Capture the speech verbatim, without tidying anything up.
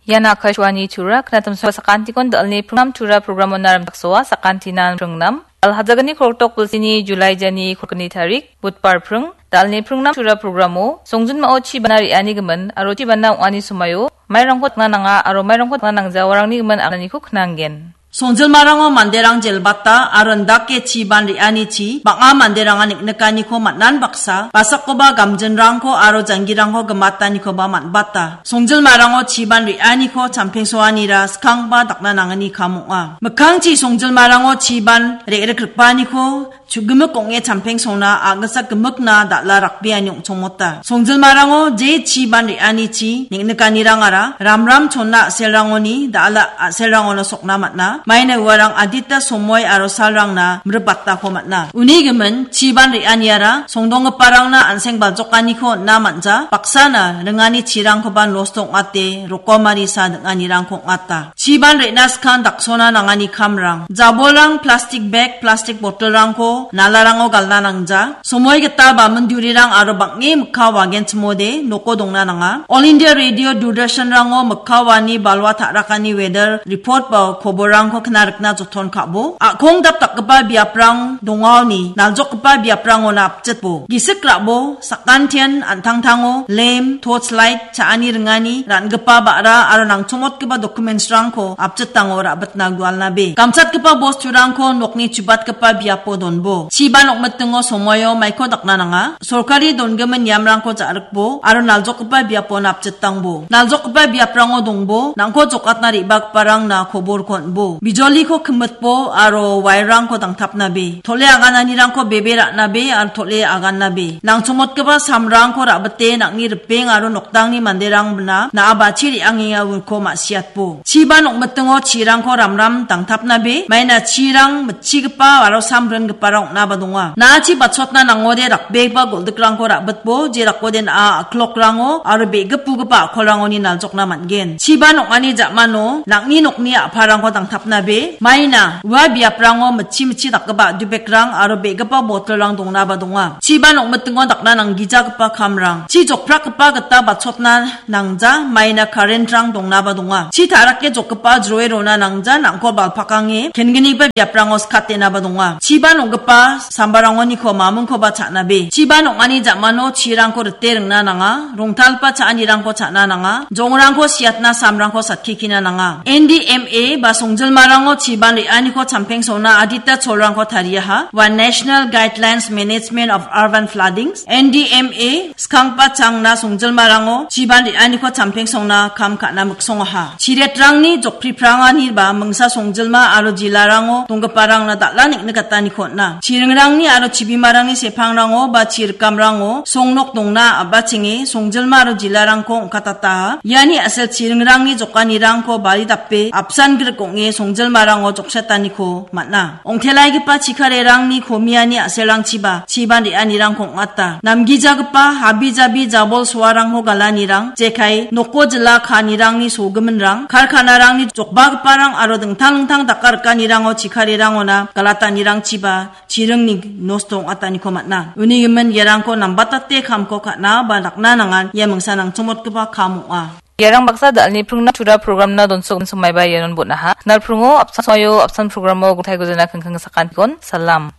Ian Akashvani Tura, knatamsoa sakantikon dalni pringnam Tura programo naram daksoa sakantinan pringnam. Alhajagani koroktok bilsini Julai jani korkni tarik, Budpar pring, dalni pringnam Tura programo, songjinmao chi bana re·ani gimin, aro chi bana ong·ani somaio, mairangko tangna nanga, aro mairangko tangna nangjawarangni gimin aganiko knanggen. Songjilmarango manderang jelbata aro indake chiban re·anichi bang·a manderanga niknikaniko man·an baksa, basakoba gamjinrangko aro janggirangko gimatanikoba man·bata. Songjilmarango chiban re·aniko champengsoanira skangba dakna nangani kam ong·a. Mikkangchi songjilmarango chiban re·rikripaniko chugimik ong·e champengsona a·gitsa gimikna dal·a rakbeani ong·chongmota. Songjilmarango je chiban re·anichi neng·nikanirangara ramram chonna a·selrangoni dal·a a·selrangona sokna man·a. Maina uarang adita somoi aro salrangna mribatako man·a. Uni gimin chiban re·aniara songdonggiparangna an·seng baljokaniko on·na man·ja, baksana ringani chirangkoba nosto ong·ate rokomarisa ning·anirangko ong·ata. Chiban re·na skang daksona nangani kamrang. Jabolrang, plastik bag, plastik botolrangko nalarango galna nangja. Somoi gita bamindurirang aro bang·e mikka wagenchimode noko dongna nanga. All India Radio Doordarshanrango mikka wani balwa ta·rakani weather report ba koborrangko kna rikna joton ka·bo. A·kong dap dakgipa biaprang dongaoni naljokgipa biaprangona apjitbo. Gisik ra·bo, sakantian an·tangtango, lem, torch light, cha·ani ringani, ra·ngipa ba·ra aro nangchongmotgipa documents-rangko apjitango ra·bitna gualnabe. Gamchatgipa bosturangko nokni chubatgipa biapo donbo. Chiban ong·mitingo somoio maiko dakna nanga. Sorkari dongimin niamrangko ja·rikbo aro naljokgipa biapo napjitangbo. Naljokgipa biaprango dongbo, nangko jokatna re·bagiparangna koborko on·bo. Bijoliko kimitbo aro wire-rangko dangtapnabe. Tole agananirangko bebe ra·nabe aro tole agannabe. Nangchongmotgipa samrangko ra·bite nang·ni ripeng aro nokdangni manderangna na·a bachi re·angengaiko ma·siatbo. Chiban ong·mitingo chirangko ramram dangtapnabe, maina chirang mitchigipa aro samringiparang ong·naba donga. Na·achi bachotna nangode rakbegipa goldikrangko ra·bitbo, jerakode na·a a·klokrango aro be·gipbugipa a·kolrangoni naljokna man·gen. Chiban ong·ani ja·mano nang·ni nokni a·parangko dangtapnabe, maina ua biaprango mitchi mitchi dakgipa a·dubekrang aro be·gipa botolrang dongnaba donga. Chiban ong·mitingo dakna nanggijagipa kamrang. Chi jokprakgipa gita bachotna nangja, maina current-rang dongnaba donga. Chi ta·rake jokgipa jroe rona nangja, nangkol balpakange kenggipa biaprango skatenaba donga. Chiban ong·gipa sambarangoniko mamingkoba cha·nabe. Chiban ong·ani ja·mano chirangko rite ringna nanga, rongtalgipa cha·anirangko cha·na nanga, jongrangko siatna samrangko satkikina nanga. N D M A ba songjilmarango chiban re·aniko champengsona adita cholrangko tariaha, ua National Guidelines Management of Urban Floodings, N D M A, skanggipa changna songjilmarango chiban re·aniko champengsongna kam ka·na miksongaha. Chiretrangni jokpripranganiba mingsa songjilma aro jilarango donggiparangna dal·a neng·nikataniko on·a. Chiringrangni aro chibimarangni sepangrango ba chirikamrango songnok dongna a·bachenge songjilma aro jilarangko ong·katataha. Iani a·sel chiringrangni jokanirangko bari dape apsan grik ong·e songjilmarango joksetaniko man·a. Ongtelaigipa chikarerangni komiani a·selrangchiba chiban re·anirangko ong·ata. Namgijagipa habi jabi jabol soarangko galanirang, jekai noko jila kaanirangni sogiminrang, karkanarangni jokbagiparang aro dingtang dingtang daka rikanirango chikarerangona galatanirangchiba chiringni nosto ong·ataniko man·a. Uni gimin iarangko nambatate kamko ka·na ba dakna nangan ia mingsa nangchongmotgipa kam ong·a. Iarang baksa dalni pringna Tura programna donsok somaiba ianon bon·aha. Knalpringo apsan somaio apsan programo gotaigo jana kengkeng sakantikon. Salam.